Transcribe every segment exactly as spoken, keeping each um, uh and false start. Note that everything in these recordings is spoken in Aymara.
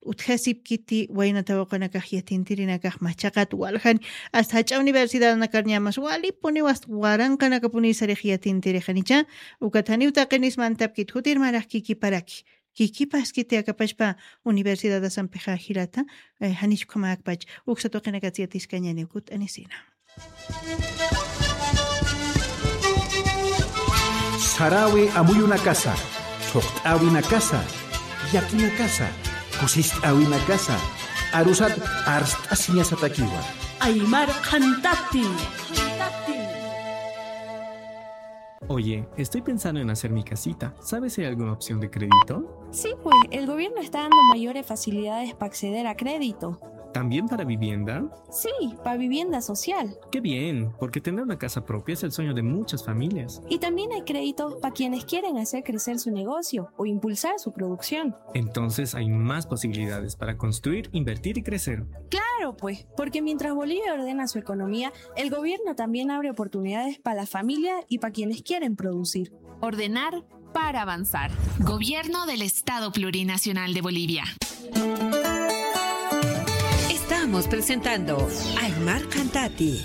utjasipkiti wayna tawaqunakax yatintirinakax machaqat waljan, hasta jach'a universidadnakar ñamas walipuniw hasta waranqanakapuniw sarix yatintirixanicha, ukat janiw taqinis mantapkit jutir marax kikiparaki. Kikipaskiti akapachpa universidadasampixa jilata, eh, janich ukhamäkpach, uksa tuqinakats yatiskañäniw kut'anisina. Saräwi amuyunakasa, thuqt'äwinakasa, llakinakasa, kusist'äwinakasa, arusat arst'asiñasatakiwa. Aymar qhantati. Oye, estoy pensando en hacer mi casita. ¿Sabes si hay alguna opción de crédito? Sí, pues, el gobierno está dando mayores facilidades para acceder a crédito. ¿También para vivienda? Sí, para vivienda social. Qué bien, porque tener una casa propia es el sueño de muchas familias. Y también hay créditos para quienes quieren hacer crecer su negocio o impulsar su producción. Entonces hay más posibilidades para construir, invertir y crecer. Claro, pues, porque mientras Bolivia ordena su economía, el gobierno también abre oportunidades para la familia y para quienes quieren producir. Ordenar para avanzar. Gobierno del Estado Plurinacional de Bolivia. Estamos presentando Aymar Qhantati.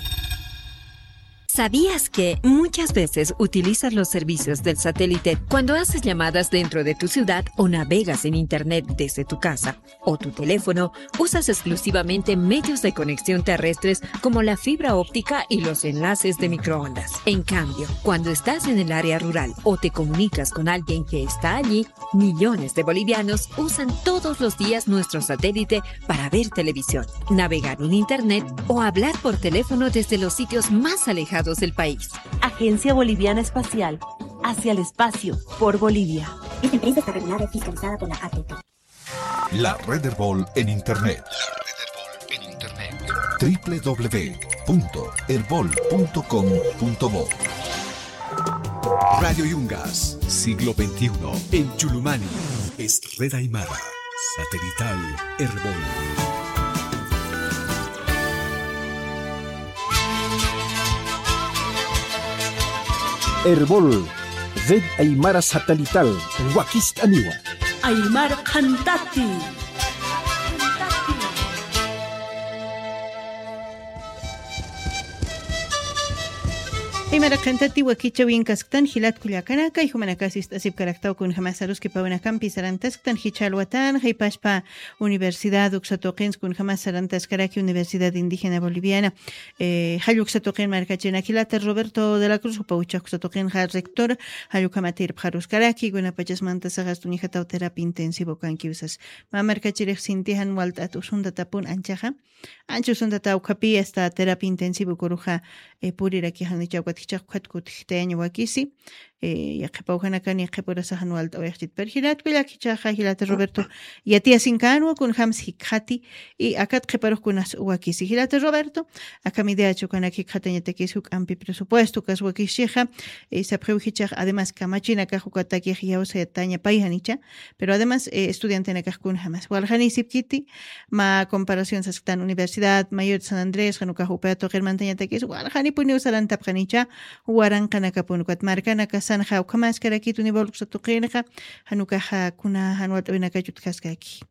¿Sabías que muchas veces utilizas los servicios del satélite cuando haces llamadas dentro de tu ciudad o navegas en Internet desde tu casa o tu teléfono? Usas exclusivamente medios de conexión terrestres como la fibra óptica y los enlaces de microondas. En cambio, cuando estás en el área rural o te comunicas con alguien que está allí, millones de bolivianos usan todos los días nuestro satélite para ver televisión, navegar en Internet o hablar por teléfono desde los sitios más alejados del país. Agencia Boliviana Espacial, hacia el espacio, por Bolivia. Esta empresa está regulada y fiscalizada por la A T T. La Red Erbol en Internet. La Red Erbol en Internet. W W W punto erbol punto com punto bo. Radio Yungas, siglo veintiuno, en Chulumani. Es Red Aymara, satelital Erbol. Erbol, Red Aymara Satelital, wakist'aniwa. Aymar qhantati. Aymar qhantati wakichäwinkasktan jilat kullakanaka, jumanakasa ist'asipkaraktaw kunjamas aruskipäwinakampi sarantasktan jichha alwatan, jaypaspa universidad uksa tuqins kunjamas sarantaskaraki Universidad Indígena Boliviana. Eh, jall uksa tuqin markachirinaka jilata Roberto de la Cruz, jupa uchax uksa tuqinxa rector, jall ukhamat irpxaruskaraki, kunapachas mantasaxa uñjataw terapia intensivo kankiw sas. Mä markachirix sinti jan walt'at usuntatapun anchaxa. Ancha usuntata ukhapi hasta terapia intensivo kuruxa, eh, purirakixanicha ukat jichhax ukhat kutjitayañ wakisi. Eh, yaqhipaw janakan yaqhipurasa jan walt'awayxchit. Pero jilat kullaka jichhaxa, jilata Roberto, yatiyasinkänwa kunjams jikxati, y akat qhiparux kunas wakisi. Jilata Roberto, akham idea chukanak jikxatañatakis juk'ampi presupuesto ukas wakischixa, eh, sapxiw jichhax, además kamachinakax ukatakix iyawsayataña pay janicha, pero además, eh, estudiantenakax kunjamas. Waljanisipkiti, mä comparación sasktan Universidad Mayor de San Andrés, jan ukax upa tuqir mantañatakis, waljanipuniw sarantapxanicha, waranqanakapun ukat markanakasanxa ukhamaskarakit nivel uksa tuqinxa, jan ukaxa kuna jan walt'awinakach utjaskaki.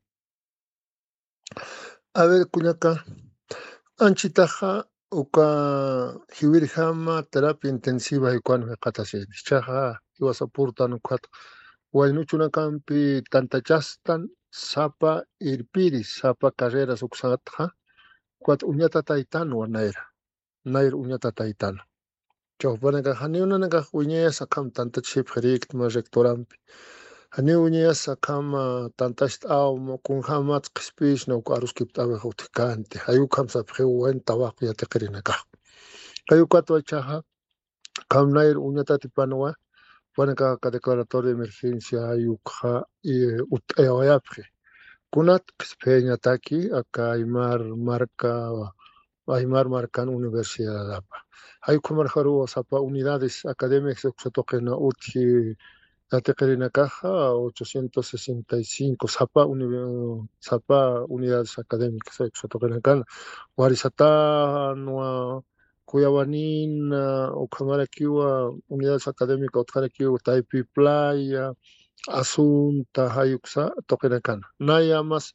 A ver, kullaka, anchitaxa uka jiwirjama terapia intensiva jaykuwan jikxatasini. Jichhaxa jiwasapurtan ukat waynuchunakampi tantachastan sapa irpiri, sapa carreras uksatxa, ukat uñatataytanwa nayra. Nayr uñatataytan. Chawpanakax janiw nanakax wiñayasa akham tantachipxirïkta mä rectorampi. Janiw wiñayasa akham, ah, tantacht'aw mä kunjämats qhispiyisna uk aruskipt'awix utjkänti. Jay ukham sapxiw wayn tawaq yatiqirinakax. Jay ukatwa jichhaxa, akham nayr uñatatipanwa, jupanakax aka declaratoria de emergencia jay ukxa, eh, utt'ayawayapxi. Kunat qhispiyañataki aka Aymar marka, Aymar markan universidadapa. Jay ukhamarjaruw sapa unidades académicas uksa tuqina utji yatiqirinakaxa, ochocientos sesenta y cinco, sapa uni-, sapa unidades académicas uksa tuqinakan, Warisatanwa, Cuyawanina, ukhamarakiwa unidades académicas utjarakiwa Taypi Playa, Asunta, jay uksa tuqinakan. Naya más